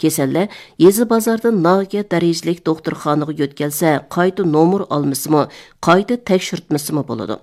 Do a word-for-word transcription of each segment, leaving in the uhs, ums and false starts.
كېسەللەر يېزا بازاردىن ناھىيە دەرىجىلىك دوختۇرخانىغا يۆتكەلسە، قايتا نومۇر ئالمىسىمۇ، قايتا تەكشۈرتمىسىمۇ بولىدۇ.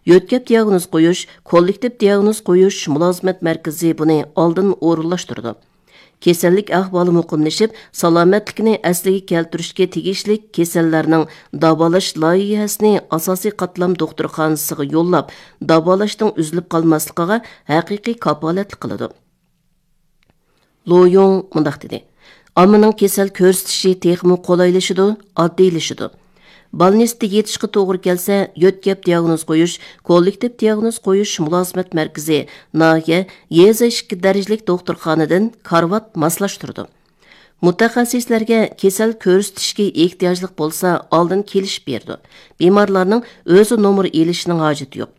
يۆتكەپ دىياگنوز قويۇش، كوللېكتىپ دىياگنوز قويۇش مۇلازىمەت مەركىزى بۇنى ئالدىن ئورۇنلاشتۇرىدۇ. كېسەللىك ئەھۋالى مۇقىملىشىپ، سالامەتلىكىنى ئەسلىگە كەلتۈرۈشكە تېگىشلىك كېسەللەرنىڭ داۋالاش لايىھەسىنى ئاساسىي قاتلام دوختۇرخانىسىغا يوللاپ، داۋالاشنىڭ ئۈزۈلۈپ قالماسلىقىغا ھەقىقىي كاپالەتلىك قىلىدۇ. لو يۇڭ مۇنداق دېدى: ئاممىنىڭ كېسەل كۆرسىتىشى تېخىمۇ قولايلىشىدۇ، ئاددىيلىشىدۇ. بالنىستتا يېتىشقا توغرا كەلسە، يۆتكەپ دىياگنوز قويۇش، كوللېكتىپ دىياگنوز قويۇش مۇلازىمەت مەركىزى ناھىيە، يېزا ئىككى دەرىجىلىك دوختۇرخانىدىن كارىۋات ماسلاشتۇرىدۇ. مۇتەخەسسىسلەرگە كېسەل كۆرسىتىشكە ئېھتىياجلىق بولسا، ئالدىن كېلىشىپ بېرىدۇ. بىمارلارنىڭ ئۆزى نومۇر ئېلىشىنىڭ ھاجىتى يوق.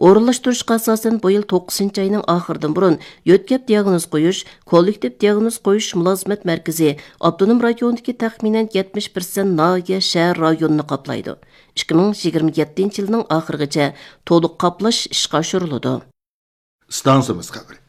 ئورۇنلاشتۇرۇشقا ئاساسەن، بۇ يىل توققۇزىنچى ئاينىڭ ئاخىرىدىن بۇرۇن يۆتكەپ دىياگنوز قويۇش، كوللېكتىپ دىياگنوز قويۇش مۇلازىمەت مەركىزى ئاپتونوم رايوندىكى تەخمىنەن يەتمىش پىرسەنت ناھىيە، شەھەر رايونىنى قاپلايدۇ. ئىككى مىڭ يىگىرمە يەتتىنچى يىلنىڭ ئاخىرىغىچە تولۇق قاپلاش ئىشقا ئاشۇرۇلىدۇ. ئىستانسىمىز خەۋىرى.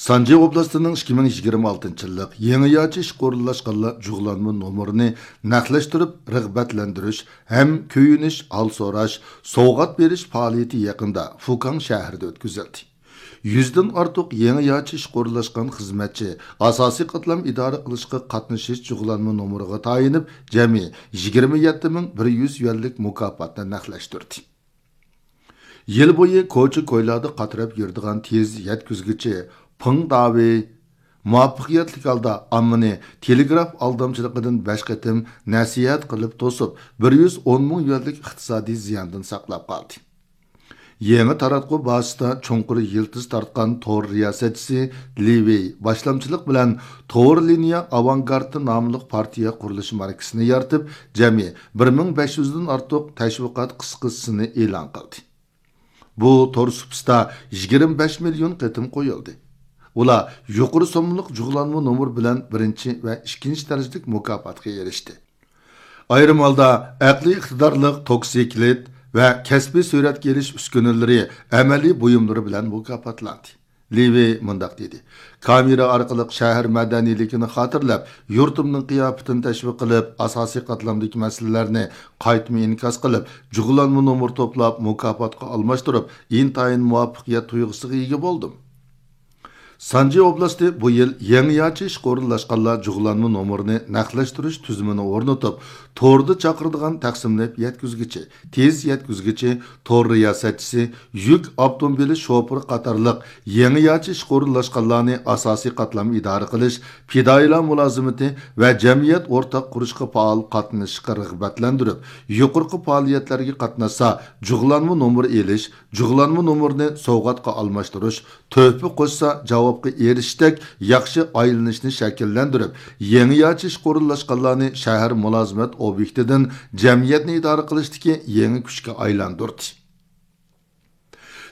سانجى ئوبلاستىنىڭ ئىككى مىڭ يىگىرمە ئالتىنچى يىللىق يېڭىچە ئىشقا ئورۇنلاشقانلار جۇغلانما نومۇرىنى نەقلەشتۈرۈپ رىغبەتلەندۈرۈش ھەم كۆيۈنۈش، ھال سوراش، سوۋغات بېرىش پائالىيىتى يېقىندا فۇكاڭ شەھىرىدە ئۆتكۈزۈلدى. يۈزدىن ئارتۇق يېڭىچە ئىشقا ئورۇنلاشقان خىزمەتچى ئاساسىي قاتلام ئىدارە قىلىشقا قاتنىشىش جۇغلانما نومۇرىغا تايىنىپ، جەمئىي يىگىرمە يەتتە مىڭ بىر يۈز يۈەنلىك مۇكاپاتنى نەقلەشتۈردى. يىل بويى كوچا كويلاردا قاتراپ يۈرىدىغان تېز يەتكۈزگۈچى پېڭ داۋېي مۇۋەپپەقىيەتلىك ھالدا ئاممىنى تېلېگراف ئالدامچىلىقىدىن بەش قېتىم نەسىھەت قىلىپ توسۇپ، بىر يۈز ئون مىڭ يۈەنلىك ئىقتىسادىي زىياندىن ساقلاپ قالدى. يېڭى تاراتقۇ بازىسىدا چوڭقۇر يىلتىز تارتقان تور رىياسەتچىسى لى ۋېي باشلامچىلىق بىلەن تور لىنىيە ئاۋانگارتى ناملىق پارتىيە قۇرۇلۇش ماركىسىنى يارىتىپ، جەمئىي بىر مىڭ بەش يۈزدىن ئارتۇق تەشۋىقات قىسقىسىنى ئېلان قىلدى. بۇ تور سۇپىسىدا يىگىرمە بەش مىليون قېتىم قويۇلدى. ئۇلار يۇقىرى سوممىلىق جۇغلانما نومۇر بىلەن بىرىنچى ۋە ئىككىنچى دەرىجىلىك مۇكاپاتقا ئېرىشتى. ئايرىم ھالدا ئەقلىي ئىقتىدارلىق توكسىكلىت ۋە كەسپىي سۈرەتكە ئېلىش ئۈسكۈنىلىرى، ئەمەلىي بۇيۇملىرى بىلەن مۇكاپاتلاندى. لى ۋېي مۇنداق دېدى: كامېرا ئارقىلىق شەھەر مەدەنىيلىكىنى خاتىرىلەپ، يۇرتۇمنىڭ قىياپىتىنى تەشۋىق قىلىپ، ئاساسىي قاتلامدىكى مەسىلىلەرنى قايتما ئىنكاس قىلىپ، جۇغلانما نومۇر توپلاپ، مۇكاپاتقا ئالماشتۇرۇپ، ئىنتايىن مۇۋەپپەقىيەت تۇيغۇسىغا ئىگە بولدۇم. سانجى ئوبلاستى بۇ يىل يېڭىچە ئىشقا ئورۇنلاشقانلار جۇغلانما نومۇرىنى نەقلەشتۈرۈش تۈزۈمىنى ئورنىتىپ، توردا چاقىرىدىغان تەقسىملەپ يەتكۈزگۈچى، تېز يەتكۈزگۈچى، تور رىياسەتچىسى، يۈك ئاپتوموبىلى شوپۇرى قاتارلىق يېڭىچە ئىشقا ئورۇنلاشقانلارنى ئاساسىي قاتلام ئىدارە قىلىش، پىدائىيلار مۇلازىمىتى ۋە جەمئىيەت ئورتاق قۇرۇشقا پائال قاتنىشىشقا رىغبەتلەندۈرۈپ، يۇقىرىقى پائالىيەتلەرگە قاتناشسا، جۇغلانما نومۇر ئېلىش، جۇغلانما نومۇرنى سوۋغاتقا ئالماشتۇرۇش، تۆھپە قوشسا جاۋابقا ئېرىشىشتەك ياخشى ئايلىنىشنى شەكىللەندۈرۈپ، يېڭىچە ئىشقا ئورۇنلاشقانلارنى شەھەر مۇلازىمەت ئوبيېكتىدىن جەمئىيەتنى ئىدارە قىلىشتىكى يېڭى كۈچكە ئايلاندۇردى.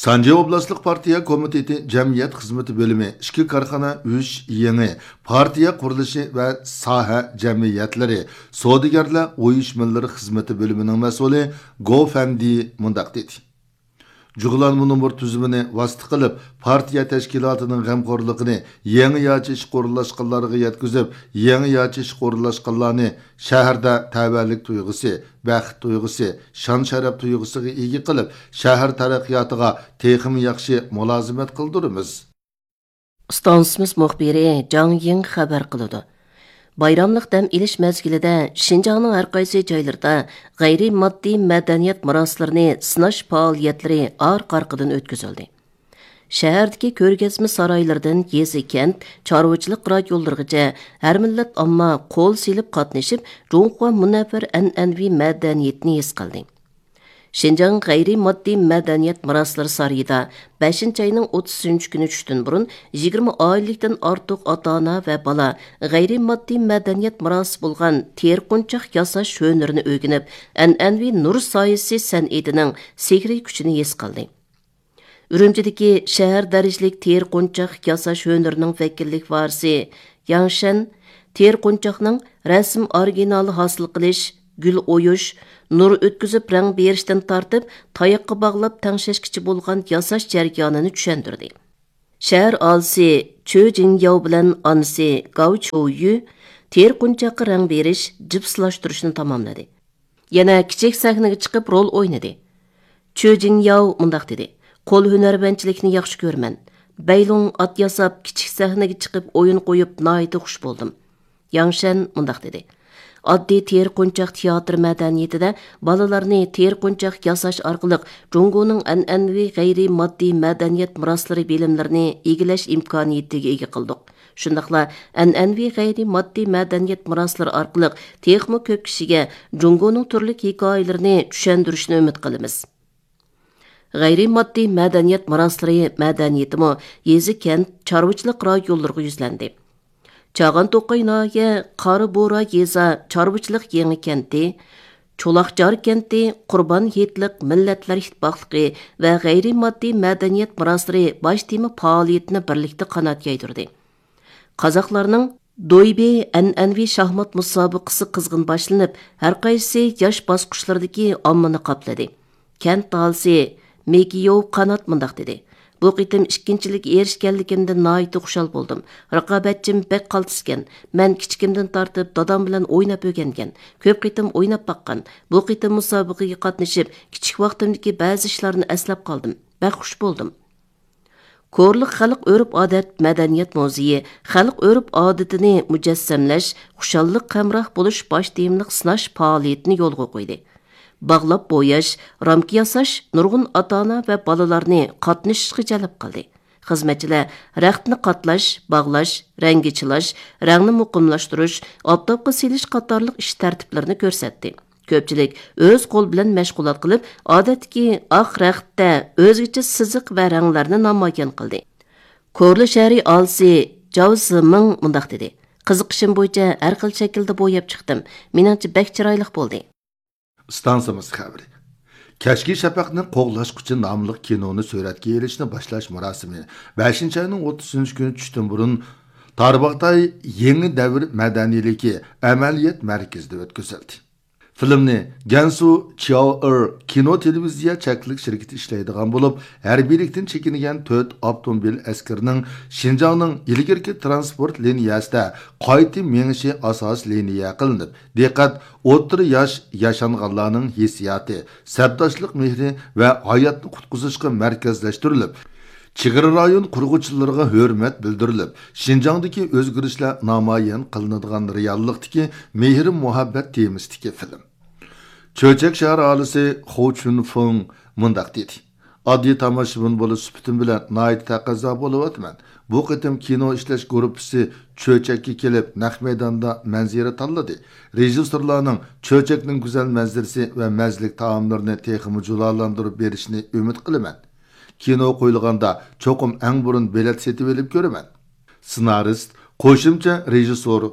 سانجى ئوبلاستلىق پارتىيە كومىتېتى جەمئىيەت خىزمىتى بۆلۈمى ئىككى كارخانا، ئۈچ يېڭى پارتىيە قۇرۇلۇشى ۋە ساھە جەمئىيەتلىرى، سودىگەرلەر ئۇيۇشمىلىرى خىزمىتى بۆلۈمىنىڭ مەسئۇلى گو فەندى مۇنداق دېدى: جۇغلانما نومۇر تۈزۈمىنى ۋاسىتە قىلىپ، پارتىيە تەشكىلاتىنىڭ غەمخورلۇقىنى يېڭىچە ئىشقا ئورۇنلاشقانلارغا يەتكۈزۈپ، يېڭىچە ئىشقا ئورۇنلاشقانلارنى شەھەردە تەۋەلىك تۇيغۇسى، بەخت تۇيغۇسى، شان-شەرەپ تۇيغۇسىغا ئىگە قىلىپ، شەھەر تەرەققىياتىغا تېخىمۇ ياخشى مۇلازىمەت قىلدۇرىمىز. ئىستانسىمىز مۇخبىرى جاڭ يىڭ خەۋەر قىلىدۇ. بايراملىق دەم ئېلىش مەزگىلىدە شىنجاڭنىڭ ھەر قايسى جايلىرىدا غەيرىي ماددىي مەدەنىيەت مىراسلىرىنى سىناش پائالىيەتلىرى ئارقا-ئارقىدىن ئۆتكۈزۈلدى. شەھەردىكى كۆرگەزمە سارايلىرىدىن يېزا، كەنت، چارۋىچىلىق رايونلىرىغىچە ھەر مىللەت ئامما قول سېلىپ قاتنىشىپ، جۇڭخۇا مۇنەۋۋەر ئەنئەنىۋى مەدەنىيىتىنى ھېس قىلدى. شىنجاڭ غەيرىي ماددىي مەدەنىيەت مىراسلىرى سارىيىدا بەشىنچى ئاينىڭ ئوتتۇزىنچى كۈنى چۈشتىن بۇرۇن يىگىرمە ئائىلىلىكتىن ئارتۇق ئاتا-ئانا ۋە بالا غەيرىي ماددىي مەدەنىيەت مىراسى بولغان تېرىقونچاق ياساش ھۈنىرىنى ئۆگىنىپ، ئەنئەنىۋى نۇر سايىسى سەنئىتىنىڭ سېھرىي كۈچىنى ھېس قىلدى. ئۈرۈمچىدىكى شەھەر دەرىجىلىك تېرىقونچاق ياساش ھۈنىرىنىڭ ۋەكىللىك ۋارىسى ياڭ شەن تېرىقونچاقنىڭ رەسىم ئورىگىنالى ھاسىل قىلىش، گۈل ئويۇش، نۇر ئۆتكۈزۈپ رەڭ بېرىشتىن تارتىپ، تاياققا باغلاپ تەڭشەشكىچە بولغان ياساش جەريانىنى چۈشەندۈردى. شەھەر ئالىسى چۆ جىڭياۋ بىلەن ئانىسى گاۋ چويۈ تېرە قونچاققا رەڭ بېرىش، جىپسلاشتۇرۇشنى تاماملىدى. يەنە كىچىك سەھنىگە چىقىپ رول ئوينىدى. چۆ جىڭياۋ مۇنداق دېدى: «قول ھۈنەرۋەنچىلىكنى ياخشى كۆرىمەن. بەيلۇڭ ئات ياساپ، كىچىك سەھنىگە چىقىپ ئويۇن قويۇپ ناھايىتى خۇش بولدۇم.» ياڭ شەن مۇنداق دېدى: «ئاددىي تېرە قونچاق تىياتىر مەدەنىيىتىدە بالىلارنى تېرە قونچاق ياساش ئارقىلىق جۇڭگونىڭ ئەنئەنىۋى غەيرىي ماددىي مەدەنىيەت مىراسلىرى بىلىملىرىنى ئىگىلەش ئىمكانىيىتىگە ئىگە قىلدۇق. شۇنداقلا ئەنئەنىۋى غەيرىي ماددىي مەدەنىيەت مىراسلىرى ئارقىلىق تېخىمۇ كۆپ كىشىگە جۇڭگونىڭ تۈرلۈك ھېكايىلىرىنى چۈشەندۈرۈشنى ئۈمىد قىلىمىز.» غەيرىي ماددىي مەدەنىيەت مىراسلىرى مەدەنىيىتىمۇ يېزا، كەنت، چارۋىچىلىق رايونلىرىغا يۈزلەندى. چاغان توقاي ناھىيە قارا بورا يېزا چارۋىچىلىق يېڭى كەنتى، چولاقجار كەنتى، قۇربان ھېيتلىق مىللەتلەر ئىتتىپاقلىقى ۋە غەيرىي ماددىي مەدەنىيەت مىراسلىرى باش تېما پائالىيىتىنى بىرلىكتە قانات يايدۇردى. قازاقلارنىڭ دويبى ئەنئەنىۋى شاھمات مۇسابىقىسى قىزغىن باشلىنىپ، ھەرقايسى ياش باسقۇچلىرىدىكى ئاممىنى قاپلىدى. كەنت ئاھالىسى مېكىيوۋ قانات مۇنداق دېدى: «بۇ قېتىم ئىككىنچىلىككە ئېرىشكەنلىكىمدىن ناھايىتى خۇشال بولدۇم. رىقابەتچىم بەك قالتىسكەن. مەن كىچىكىمدىن تارتىپ دادام بىلەن ئويناپ ئۆگەنگەن. كۆپ قېتىم ئويناپ باققان. بۇ قېتىم مۇسابىقىگە قاتنىشىپ، كىچىك ۋاقتىمدىكى بەزى ئىشلارنى ئەسلەپ قالدىم. بەك خۇش بولدۇم.» كورلۇق خەلق ئۆرپ-ئادەت مەدەنىيەت مۇزېيى خەلق ئۆرپ-ئادىتىنى مۇجەسسەملەش، خۇشاللىق ھەمراھ بولۇش باش تېمىلىق سىناش پائالىيىتىنى يولغا قويدى. باغلاپ بوياش، رامكا ياساش نۇرغۇن ئاتا-ئانا ۋە بالىلارنى قاتنىشىشقا جەلپ قىلدى. خىزمەتچىلەر رەختنى قاتلاش، باغلاش، رەڭگە چىلاش، رەڭنى مۇقىملاشتۇرۇش، ئاپتاپقا سېلىش قاتارلىق ئىش تەرتىپلىرىنى كۆرسەتتى. كۆپچىلىك ئۆز قولى بىلەن مەشغۇلات قىلىپ، ئادەتتىكى ئاق رەختتە ئۆزگىچە سىزىق ۋە رەڭلەرنى نامايان قىلدى. كورلا شەھىرى ئاھالىسى جاۋ زىمىڭ مۇنداق دېدى: «قىزىقىشىم بويىچە ھەر خىل شەكىلدە بوياپ چىقتىم. مېنىڭچە بەك چىرايلىق بولدى.» ئىستانسىمىز خەۋىرى. كەچكى شەپەقنى قوغلاشقۇچى ناملىق كىنونى سۈرەتكە ئېلىشنى باشلاش مۇراسىمى بەشىنچى ئاينىڭ ئوتتۇزىنچى كۈنى چۈشتىن بۇرۇن تارباغاتاي يېڭى دەۋر مەدەنىيلىكى ئەمەلىيەت مەركىزىدە ئۆتكۈزۈلدى. فىلىمنى گەنسۇ چياۋئېر كىنو تېلېۋىزىيە چەكلىك شىركىتى ئىشلەيدىغان بولۇپ، ھەربىيلىكتىن چېكىنگەن تۆت ئاپتوموبىل ئەسكىرىنىڭ شىنجاڭنىڭ ئىلگىرىكى تىرانسپورت لىنىيەسىدە قايتا مېڭىشى ئاساسىي لىنىيە قىلىنىپ، دىققەت ئوتتۇرا ياش ياشانغانلارنىڭ ھېسسىياتى، سەپداشلىق مېھرى ۋە ھاياتنى قۇتقۇزۇشقا مەركەزلەشتۈرۈلۈپ، چېگرا رايون قۇرغۇچىلىرىغا ھۆرمەت بىلدۈرۈلۈپ، شىنجاڭدىكى ئۆزگىرىشلەر نامايان قىلىنىدىغان رېئاللىقتىكى مېھىر-مۇھەببەت تېمىسىدىكى فىلىم. چۆچەك شەھەر ئاھالىسى خۇ چۈنفېڭ مۇنداق دېدى: «ئاددىي تاماشىبىن بولۇش سۈپىتىم بىلەن ناھايىتى تەقەززا بولۇۋاتىمەن. بۇ قېتىم كىنو ئىشلەش گۇرۇپپىسى چۆچەككە كېلىپ، نەق مەيداندا مەنزىرە تاللىدى. رېژىسسورلارنىڭ چۆچەكنىڭ گۈزەل مەنزىرىسى ۋە مەززىلىك تائاملىرىنى تېخىمۇ جۇلالاندۇرۇپ بېرىشىنى ئۈمىد قىلىمەن. كىنو قويۇلغاندا چوقۇم ئەڭ بۇرۇن بېلەت سېتىۋېلىپ كۆرىمەن.» سېنارىست، قوشۇمچە رېژىسسور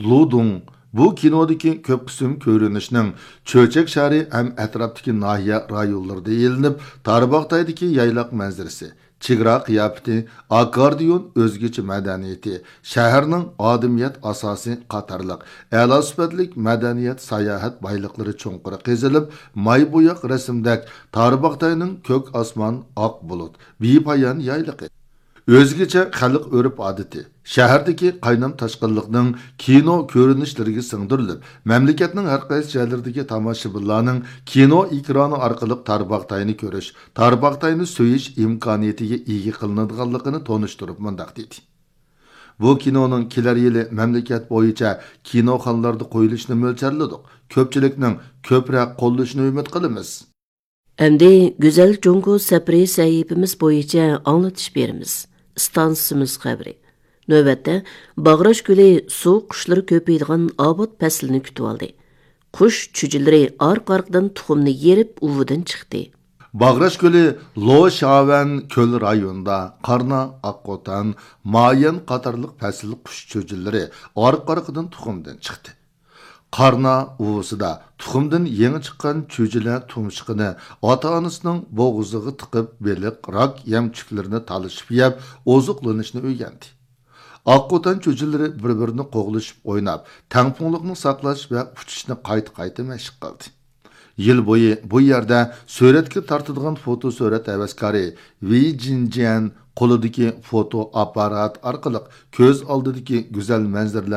لۇ دۇڭ بۇ كىنودىكى كۆپ قىسىم كۆرۈنۈشنىڭ چۆچەك شەھىرى ھەم ئەتراپتىكى ناھىيە رايونلىرىدا ئېلىنىپ، تارباغاتايدىكى يايلاق مەنزىرىسى، چېگرا قىياپىتى، ئاككوردىيون ئۆزگىچە مەدەنىيىتى، شەھەرنىڭ ئادىمىيەت ئاساسى قاتارلىق ئەلا سۈپەتلىك مەدەنىيەت ساياھەت بايلىقلىرى چوڭقۇر قېزىلىپ، ماي بوياق رەسىمدەك تارباغاتاينىڭ كۆك ئاسمان، ئاق بۇلۇت، بىپايان يايلىقى، ئۆزگىچە خەلق ئۆرپ-ئادىتى، شەھەردىكى قاينام-تاشقىنلىقنىڭ كىنو كۆرۈنۈشلىرىگە سىڭدۈرۈلۈپ، مەملىكەتنىڭ ھەرقايسى جايلىرىدىكى تاماشىبىنلارنىڭ كىنو ئېكرانى ئارقىلىق تارباغاتاينى كۆرۈش، تارباغاتاينى سۆيۈش ئىمكانىيىتىگە ئىگە قىلىنىدىغانلىقىنى تونۇشتۇرۇپ مۇنداق دېدى: «بۇ كىنونىڭ كېلەر يىلى مەملىكەت بويىچە كىنوخانىلاردا قويۇلۇشىنى مۆلچەرلىدۇق. كۆپچىلىكنىڭ كۆپرەك قوللىشىنى ئۈمىد قىلىمىز.» ئەمدى گۈزەل جۇڭگو سەپىرى سەھىپىمىز بويىچە ئاڭلىتىش بېرىمىز. ئىستانسىمىز خەۋىرى. نۆۋەتتە، باغراش كۆلى سۇ قۇشلىرى كۆپىيىدىغان ئاۋات پەسلىنى كۈتۈۋالدى. قۇش چۈجىلىرى ئارقا-ئارقىدىن تۇخۇمنى يېرىپ ئۇۋىدىن چىقتى. باغراش كۆلى لوشاۋەن كۆل رايونىدا قارنا، ئاققوتان، مايەن قاتارلىق پەسىل قۇش چۈجىلىرى ئارقا-ئارقىدىن تۇخۇمدىن چىقتى. قارنا ئۇۋىسىدا تۇخۇمدىن يېڭى چىققان چۈجىلەر تۇمشۇقىنى ئاتا-ئانىسىنىڭ بوغۇزىغا تىقىپ، بېلىق، راك يەمچۈكلىرىنى تالىشىپ يەپ، ئوزۇقلىنىشنى ئۆگەندى. ئاققوتان چۈجىلىرى بىر-بىرىنى قوغلىشىپ ئويناپ، تەڭپۇڭلۇقنى ساقلاش ۋە ئۇچۇشنى قايتا-قايتا مەشىق قىلدى. يىل بويى بۇ يەردە سۈرەتكە تارتىدىغان فوتو سۈرەت ھەۋەسكارى ۋېي جىنجيەن قولىدىكى فوتو ئاپپارات ئارقىلىق كۆز ئالدىدىكى گۈزەل مەنزىرىلەرنى